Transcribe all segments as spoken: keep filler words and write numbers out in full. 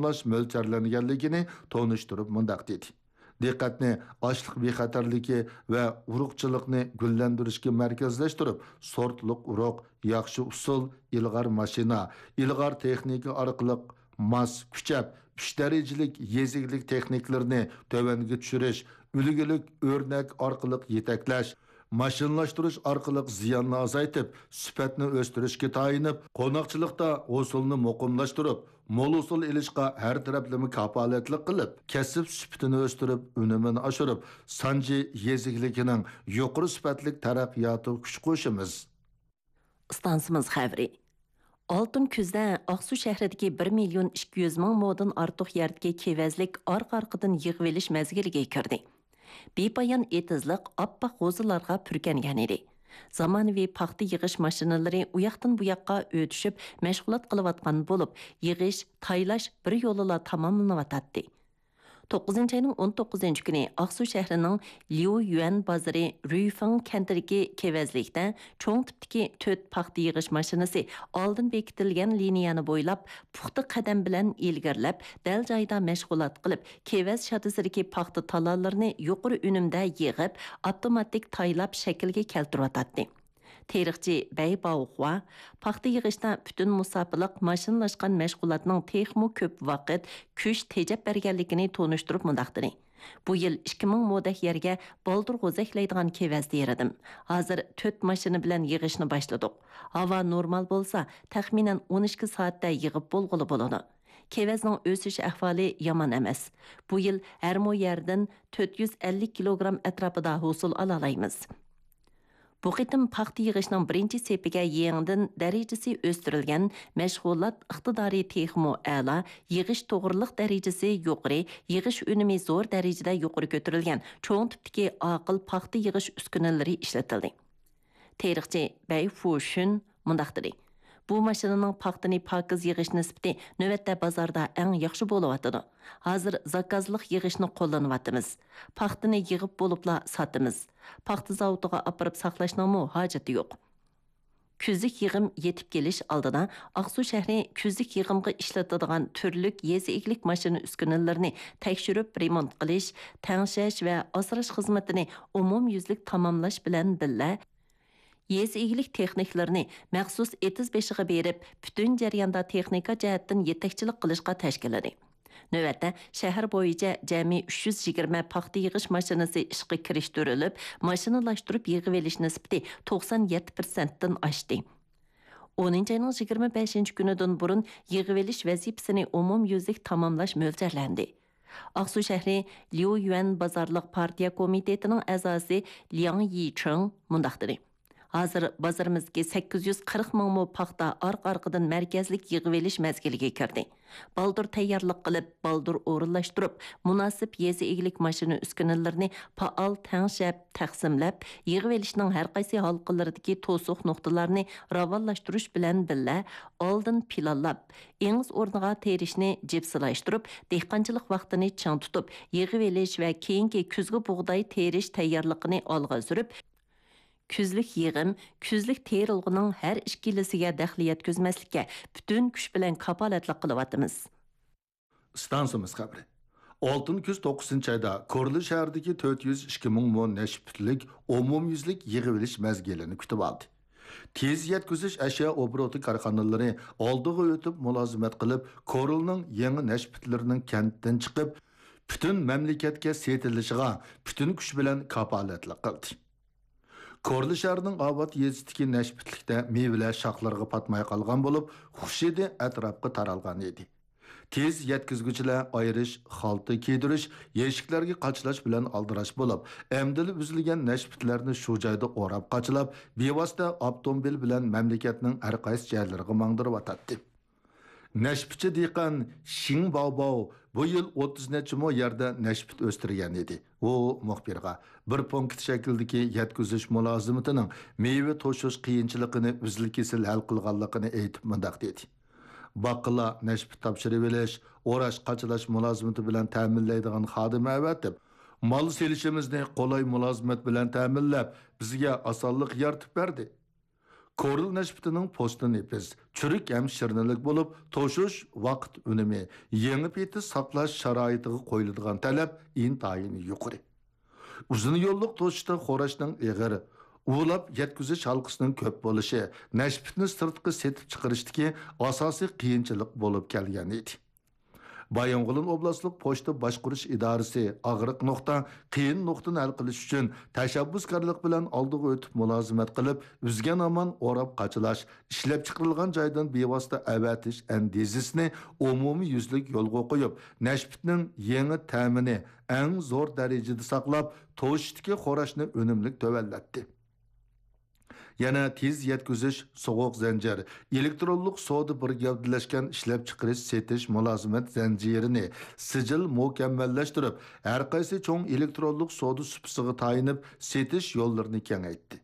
تاماملاش مۆلچەرلەنگەنلىكىنى تونۇشتۇرۇپ مۇنداق دېدى: دىققەتنى ئاشلىق بىخەتەرلىكى ۋە ئۇرۇقچىلىقنى گۈللەندۈرۈشكە مەركەزلەشتۈرۈپ، سورتلۇق ئۇرۇق، ياخشى ئۇسۇل، ئىلغار ماشىنا، ئىلغار تېخنىكا ئارقىلىق ماس، كۈچەپ، ئۈچ دەرىجىلىك يېزا ئىگىلىك تېخنىكىلىرىنى تۆۋەنگە چۈشۈرۈش، ئۈلگىلىك ئۆرنەك ئارقىلىق يېتەكلەش، ماشىنىلاشتۇرۇش ئارقىلىق زىياننى ئازايتىپ، سۈپەتنى ئۆستۈرۈشكە تايىنىپ، قوناقچىلىقتا ھوسۇلنى مۇقىملاشتۇرۇپ، مول ھوسۇل ئېلىشقا ھەر تەرەپلىمە كاپالەتلىك قىلىپ، كەسىپ سۈپىتىنى ئۆستۈرۈپ، ئۈنۈمىنى ئاشۇرۇپ، سانجى يېزا ئىگىلىكىنىڭ يۇقىرى سۈپەتلىك تەرەققىياتىغا كۈچ قوشىمىز. ئىستانسىمىز خەۋىرى. ئالتۇن كۈزدە ئاقسۇ شەھىرىدىكى بىر مىليون ئىككى يۈز مىڭ مودىن ئارتۇق يەردىكى كېۋەزلىك ئارقا-ئارقىدىن يىغىۋېلىش مەزگىلىگە كىردى. بىپايان ئېتىزلىق ئاپئاق غوزىلارغا پۈركەنگەن ئىدى. زامانىۋى پاختا يىغىش ماشىنىلىرى ئۇياقتىن بۇياققا ئۆتۈشۈپ، مەشغۇلات قىلىۋاتقان بولۇپ، يىغىش، تايلاش بىر يولىلا تاماملىنىۋاتاتتى. توققۇزىنچى ئاينىڭ ئون توققۇزىنچى كۈنى ئاقسۇ شەھىرىنىڭ ليۇيۈەن بازىرى رۈيفېڭ كەنتىدىكى كېۋەزلىكتە چوڭ تىپتىكى تۆت پاختا يىغىش ماشىنىسى ئالدىن بېكىتىلگەن لىنىيەنى بويلاپ، پۇختا قەدەم بىلەن ئىلگىرىلەپ، دەل جايىدا مەشغۇلات قىلىپ، كېۋەز شادىسىدىكى پاختا تالالىرىنى يۇقىرى ئۈنۈمدە يىغىپ، ئاپتوماتىك تايلاپ شەكىلگە كەلتۈرۈۋاتاتتى. تېرىقچى بەي باۋخۇا، پاختا يىغىشتا پۈتۈن مۇساپىلىق ماشىنىلاشقان مەشغۇلاتنىڭ تېخىمۇ كۆپ ۋاقىت، كۈچ تېجەپ بەرگەنلىكىنى تونۇشتۇرۇپ مۇنداق دېدى: بۇ يىل ئىككى مىڭ مودەك يەرگە بالدۇر غوزەكلەيدىغان كېۋەز تېرىدىم. ھازىر تۆت ماشىنا بىلەن يىغىشنى باشلىدۇق. ھاۋا نورمال بولسا، تەخمىنەن ئون ئىككى سائەتتە يىغىپ بولغىلى بولىدۇ. كېۋەزنىڭ ئۆسۈش ئەھۋالى يامان ئەمەس. بۇ يىل ھەر مو يەردىن تۆت يۈز ئەللىك كىلوگرام ئەتراپىدا ھوسۇل ئالالايمىز. بۇ قېتىم پاختا يىغىشنىڭ بىرىنچى سېپىگە يېڭىدىن دەرىجىسى ئۆستۈرۈلگەن، مەشغۇلات ئىقتىدارى تېخىمۇ ئەلا، يىغىش توغرىلىق دەرىجىسى يۇقىرى، يىغىش ئۈنۈمى زور دەرىجىدە يۇقىرى كۆتۈرۈلگەن چوڭ تىپتىكى ئاقىل پاختا يىغىش ئۈسكۈنىلىرى ئىشلىتىلدى. تېرىقچى بەي فۇشۈن مۇنداق دېدى: بۇ ماشىنىنىڭ پاختىنى پاكىز يىغىش نىسبىتى نۆۋەتتە بازاردا ئەڭ ياخشى بولۇۋاتىدۇ. ھازىر زاكازلىق يىغىشنى قوللىنىۋاتىمىز. پاختىنى يىغىپ بولۇپلا ساتىمىز. پاختا زاۋۇتىغا ئاپىرىپ ساقلاشنىڭمۇ ھاجىتى يوق. كۈزلۈك يىغىم يېتىپ كېلىش ئالدىدا، ئاقسۇ شەھىرى كۈزلۈك يىغىمغا ئىشلىتىدىغان تۈرلۈك يېزا ئىگىلىك ماشىنا ئۈسكۈنىلىرىنى تەكشۈرۈپ رېمونت قىلىش، تەڭشەش ۋە ئاسراش خىزمىتىنى ئومۇميۈزلۈك تاماملاش بىلەن بىللە، يېزا ئىگىلىك تېخنىكلىرىنى مەخسۇس ئېتىز بېشىغا بېرىپ، پۈتۈن جەرياندا تېخنىكا جەھەتتىن يېتەكچىلىك قىلىشقا تەشكىللىدى. نۆۋەتتە، شەھەر بويىچە جەمئىي ئۈچ يۈز يىگىرمە پاختا يىغىش ماشىنىسى ئىشقا كىرىشتۈرۈلۈپ، ماشىنىلاشتۇرۇپ يىغىۋېلىش نىسبىتى توقسان يەتتە پىرسەنتتىن ئاشتى. ئونىنچى ئاينىڭ يىگىرمە بەشىنچى كۈنىدىن بۇرۇن يىغىۋېلىش ۋەزىپىسىنى ئومۇميۈزلۈك تاماملاش مۆلچەرلەندى. ئاقسۇ شەھىرى ليۇيۈەن بازارلىق پارتىيە كومىتېتىنىڭ ئەزاسى لياڭ يىچىڭ مۇنداق دېدى: ھازىر بازىرىمىزدىكى سەككىز يۈز قىرىق مىڭ مو پاختا ئارقا-ئارقىدىن مەركەزلىك يىغىۋېلىش مەزگىلىگە كىردى. بالدۇر تەييارلىق قىلىپ، بالدۇر ئورۇنلاشتۇرۇپ، مۇناسىپ يېزا ئىگىلىك ماشىنا ئۈسكۈنىلىرىنى پائال تەڭشەپ، تەقسىملەپ، يىغىۋېلىشنىڭ ھەرقايسى ھالقىلىرىدىكى توسۇق نۇقتىلارنى راۋانلاشتۇرۇش بىلەن بىللە، ئالدىن پىلانلاپ، ئېڭىز ئورنىغا تېرىشنى جىپسىلاشتۇرۇپ، دېھقانچىلىق ۋاقتىنى چىڭ تۇتۇپ، يىغىۋېلىش ۋە كېيىنكى كۈزگە بۇغداي تېرىش تەييارلىقىنى ئالغا سۈرۈپ، كۈزلۈك يىغىم، كۈزلۈك تېرىلغۇنىڭ ھەر ئىككىلىسىگە دەخلى يەتكۈزمەسلىككە پۈتۈن كۈچ بىلەن كاپالەتلىك قىلىۋاتىمىز. ئىستانسىمىز خەۋىرى. ئالتۇن كۈز توققۇزىنچى ئايدا كورلا شەھىرىدىكى تۆت يۈز ئىككى مىڭ مو نەشپۈتلۈك ئومۇميۈزلۈك يىغىۋېلىش مەزگىلىنى كۈتۈۋالدى. تېز يەتكۈزۈش ئەشيا ئوبوروتى كارخانىلىرى ئالدىغا ئۆتۈپ مۇلازىمەت قىلىپ، كورلىنىڭ يېڭى نەشپۈتلىرىنىڭ كەنتتىن چىقىپ، پۈتۈن مەملىكەتكە سېتىلىشىغا پۈتۈن كۈچ بىلەن كاپالەتلىك قىلدى. كورلا شەھىرىنىڭ ئاۋات يېزىسىدىكى نەشپۈتلۈكتە مېۋىلەر شاخلىرىغا پاتماي قالغان بولۇپ، خۇش ھىدى ئەتراپقا تارالغان ئىدى. تېز يەتكۈزگۈچىلەر ئايرىش، خالتا كىيدۈرۈش، يەشىكلەرگە قاچىلاش بىلەن ئالدىراش بولۇپ، ئەمدىلا ئۈزۈلگەن نەشپۈتلەرنى شۇ جايدا ئوراپ قاچىلاپ، بىۋاسىتە ئاپتوموبىل بىلەن مەملىكەتنىڭ ھەرقايسى جايلىرىغا ماڭدۇرۇۋاتاتتى. نەشپۈتچى دېھقان شىڭ باۋباۋ بۇ يىل ئوتتۇز نەچچە مو يەردە نەشپۈت ئۆستۈرگەن ئىدى. ئۇ مۇخبىرغا بىر پونكىت شەكلىدىكى يەتكۈزۈش مۇلازىمىتىنىڭ مېۋە توشۇش قىيىنچىلىقىنى ئۈزۈل-كېسىل ھەل قىلغانلىقىنى ئېيتىپ مۇنداق دېدى: باققىلار نەشپۈت تاپشۇرۇۋېلىش، ئوراش-قاچىلاش مۇلازىمىتى بىلەن تەمىنلەيدىغان خادىم ئەۋەتىپ، مال سېلىشىمىزنى قولاي مۇلازىمەت بىلەن تەمىنلەپ، بىزگە ئاسانلىق يارىتىپ بەردى. كورل نەشپۈتىنىڭ پوستى نېپىز، چۈرۈك ھەم شىرنىلىك بولۇپ، توشۇش ۋاقىت ئۈنۈمى، يېڭى پېتى ساقلاش شارائىتىغا قويۇلىدىغان تەلەپ ئىنتايىن يۇقىرى. ئۇزۇن يوللۇق توشۇشتا خوراشنىڭ ئېغىر، ئۇۋىلاپ يەتكۈزۈش ھالقىسىنىڭ كۆپ بولۇشى نەشپۈتنى سىرتقا سېتىپ چىقىرىشتىكى ئاساسىي قىيىنچىلىق بولۇپ كەلگەن ئىدى. بايىنغولىن ئوبلاستلىق پوچتا باشقۇرۇش ئىدارىسى ئاغرىق نۇقتا، قىيىن نۇقتىنى ھەل قىلىش ئۈچۈن تەشەببۇسكارلىق بىلەن ئالدىغا ئۆتۈپ مۇلازىمەت قىلىپ، ئۈزگەن-ئامان ئوراپ قاچىلاش، ئىشلەپچىقىرىلغان جايدىن بىۋاسىتە ئەۋەتىش ئەندىزىسىنى ئومۇميۈزلۈك يولغا قويۇپ، نەشپۈتنىڭ يېڭى تەمىنى ئەڭ زور دەرىجىدە ساقلاپ، توشۇشتىكى خوراشنى ئۈنۈملۈك تۆۋەنلەتتى. يەنە تېز يەتكۈزۈش، سوغۇق زەنجىر، ئېلېكترونلۇق سودا بىر گەۋدىلەشكەن ئىشلەپچىقىرىش، سېتىش مۇلازىمەت زەنجىرىنى سىجىل مۇكەممەللەشتۈرۈپ، ھەرقايسى چوڭ ئېلېكترونلۇق سودا سۇپىسىغا تايىنىپ سېتىش يوللىرىنى كېڭەيتتى.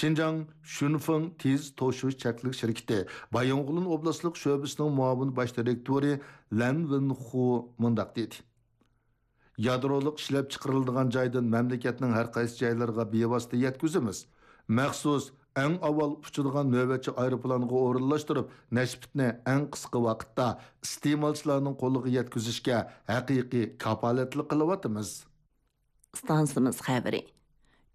شىنجاڭ شۈنفېڭ تېز توشۇش چەكلىك شىركىتى بايىنغولىن ئوبلاستلىق شۆبىسىنىڭ مۇئاۋىن باش دىرېكتورى لەن ۋېنخۇ مۇنداق دېدى. يادرولۇق ئىشلەپچىقىرىلىدىغان جايدىن مەملىكەتنىڭ ھەرقايسى جايلىرىغا بىۋاسىتە يەتكۈزىمىز. مەخسۇس، ئەڭ ئاۋۋال ئۇچىدىغان نۆۋەتچى ئايروپىلانغا ئورۇنلاشتۇرۇپ، نەشپۈتنى ئەڭ قىسقا ۋاقىتتا ئىستېمالچىلارنىڭ قولىغا يەتكۈزۈشكە ھەقىقىي كاپالەتلىك قىلىۋاتىمىز. ئىستانسىمىز خەۋىرى.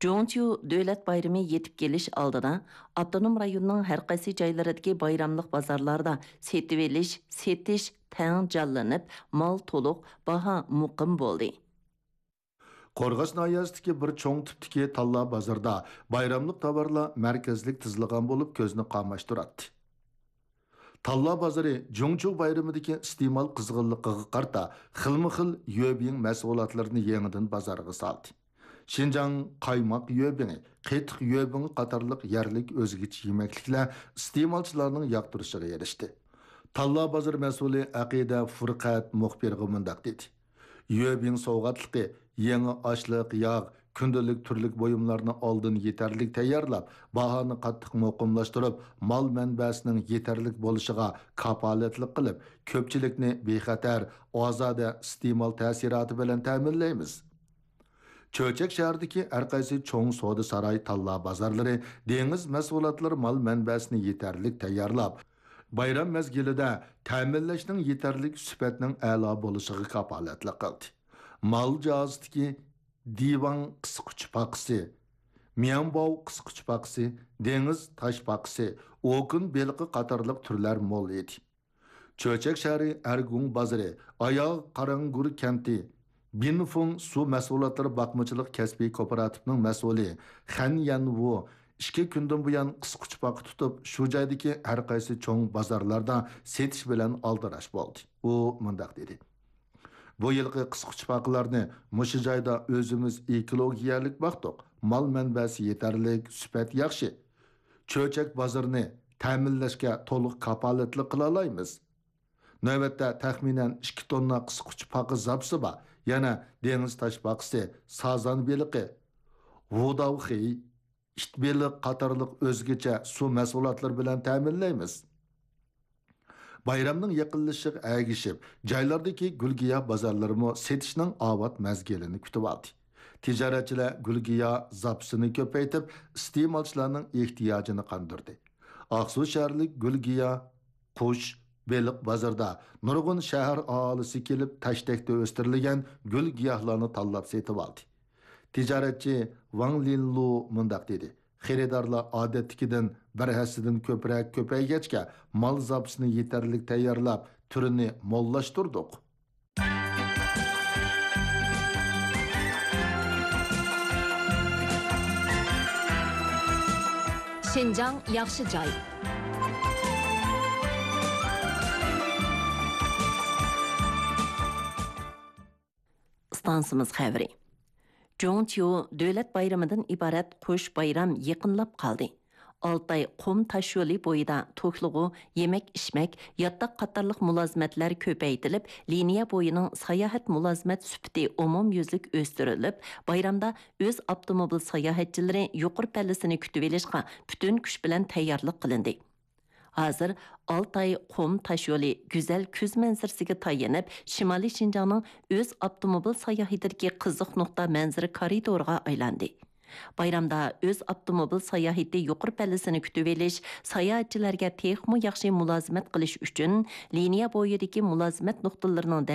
جۇڭچيۇ دۆلەت بايرىمى يېتىپ كېلىش ئالدىدا، ئاپتونوم رايوننىڭ ھەرقايسى جايلىرىدىكى بايراملىق بازارلاردا سېتىۋېلىش، سېتىش تەڭ جانلىنىپ، مال تولۇق، باھا مۇقىم بولدى. قورغاس ناھىيەسىدىكى بىر چوڭ تىپتىكى تاللا بازىرىدا بايراملىق تاۋارلار مەركەزلىك تىزىلغان بولۇپ، كۆزنى قاماشتۇراتتى. تاللا بازىرى جۇڭچيۇ بايرىمىدىكى ئىستېمال قىزغىنلىقىغا قارىتا، خىلمۇ خىل يۆبىڭ مەھسۇلاتلىرىنى يېڭىدىن بازارغا سالدى. شىنجاڭ قايماق يۆبىڭى، قېتىق يۆبىڭى قاتارلىق يەرلىك ئۆزگىچە يېمەكلىكلەر ئىستېمالچىلارنىڭ ياقتۇرۇشىغا ئېرىشتى. تاللا بازىرى مەسئۇلى ئەقىدە فۇرقەت مۇخبىرغا مۇنداق دېدى. يۆبىڭ سوۋغاتلىقى، يېڭى ئاشلىق، ياغ، كۈندىلىك تۈرلۈك بۇيۇملارنى ئالدىن يېتەرلىك تەييارلاپ، باھانى قاتتىق مۇقىملاشتۇرۇپ، مال مەنبەسىنىڭ يېتەرلىك بولۇشىغا كاپالەتلىك قىلىپ، كۆپچىلىكنى بىخەتەر، ئازادە ئىستېمال تەسىراتى بىلەن تەمىنلەيمىز. چۆچەك شەھىرىدىكى ھەرقايسى چوڭ سودا ساراي، تاللا بازارلىرى، دېڭىز مەھسۇلاتلىرى مال مەنبەسىنى يېتەرلىك تەييارلاپ، بايرام مەزگىلىدە تەمىنلەشنىڭ يېتەرلىك، سۈپەتنىڭ ئەلا بولۇشىغا كاپالەتلىك قىلدى. مال جاھازىدىكى دىۋاڭ قىسقۇچ پاقىسى، مياڭباۋ قىسقۇچ پاقىسى، دېڭىز تاش پاقىسى، ئوكۇن بېلىقى قاتارلىق تۈرلەر مول ئىدى. چۆچەك شەھىرى ئەرگۇڭ بازىرى، ئاياغ قاراڭگۈر كەنتى، بىنفۇڭ سۇ مەھسۇلاتلىرى باقمىچىلىق كەسپىي كوپىراتىپىنىڭ مەسئۇلى خەن يەنۋۇ ئىككى كۈندىن بۇيان قىسقۇچپاقا تۇتۇپ، شۇ جايدىكى ھەرقايسى چوڭ بازارلاردا سېتىش بىلەن ئالدىراش بولدى. ئۇ مۇنداق دېدى: بۇ يىلقى قىسقۇچپاقىلارنى مۇشۇ جايدا ئۆزىمىز ئېكولوگىيەلىك باقتۇق. مال مەنبەسى يېتەرلىك، سۈپەت ياخشى. چۆچەك بازىرىنى تەمىنلەشكە تولۇق كاپالەتلىك قىلالايمىز. نۆۋەتتە تەخمىنەن ئىككى توننا قىسقۇچپاقا زاپىسى بار. يەنە دېڭىز تاشپاقىسى، سازان بېلىقى، ۋۇداۋخېي، ئىت بېلىق قاتارلىق ئۆزگىچە سۇ مەھسۇلاتلىرى بىلەن تەمىنلەيمىز. بايرامنىڭ يېقىنلىشىشىغا ئەگىشىپ، جايلاردىكى گۈل-گىياھ بازارلىرىمۇ سېتىشنىڭ ئاۋات مەزگىلىنى كۈتۈۋالدى. تىجارەتچىلەر گۈل-گىياھ زاپىسىنى كۆپەيتىپ، ئىستېمالچىلارنىڭ ئېھتىياجىنى قاندۇردى. ئاقسۇ شەھەرلىك گۈل-گىياھ، قۇش، بېلىق بازىرىدا نۇرغۇن شەھەر ئاھالىسى كېلىپ، تەشتەكتە ئۆستۈرۈلگەن گۈل-گىياھلارنى تاللاپ سېتىۋالدى. تىجارەتچى ۋاڭ لىنلۇ مۇنداق دېدى: خېرىدارلار ئادەتتىكىدىن بىر ھەسسىدىن كۆپرەك كۆپەيگەچكە، مال زاپىسىنى يېتەرلىك تەييارلاپ، تۈرىنى موللاشتۇردۇق. شىنجاڭ ياخشى جاي. ئىستانسىمىز خەۋىرى. جۇڭچيۇ دۆلەت بايرىمىدىن ئىبارەت قوش بايرام يېقىنلاپ قالدى. ئالتاي قۇم تاشيولى بويىدا توكلىغۇ، يېمەك-ئىچمەك، ياتاق قاتارلىق مۇلازىمەتلەر كۆپەيتىلىپ، لىنىيە بويىنىڭ ساياھەت مۇلازىمەت سۈپىتى ئومۇميۈزلۈك ئۆستۈرۈلۈپ، بايرامدا ئۆز ئاپتوموبىل ساياھەتچىلىرى يۇقىرى پەللىسىنى كۈتۈۋېلىشقا پۈتۈن كۈچ بىلەن تەييارلىق قىلىندى. ھازىر ئالتاي قۇم تاشيولى گۈزەل كۈز مەنزىرىسىگە تايىنىپ، شىمالىي شىنجاڭنىڭ ئۆز ئاپتوموبىل ساياھىتىدىكى قىزىق نۇقتا مەنزىرە كارىدورىغا ئايلاندى. بايرامدا ئۆز ئاپتوموبىل ساياھىتى يۇقىرى پەللىسىنى كۈتۈۋېلىش، ساياھەتچىلەرگە تېخىمۇ ياخشى مۇلازىمەت قىلىش ئۈچۈن لىنىيە بويىدىكى مۇلازىمەت نۇقتىلىرىنىڭ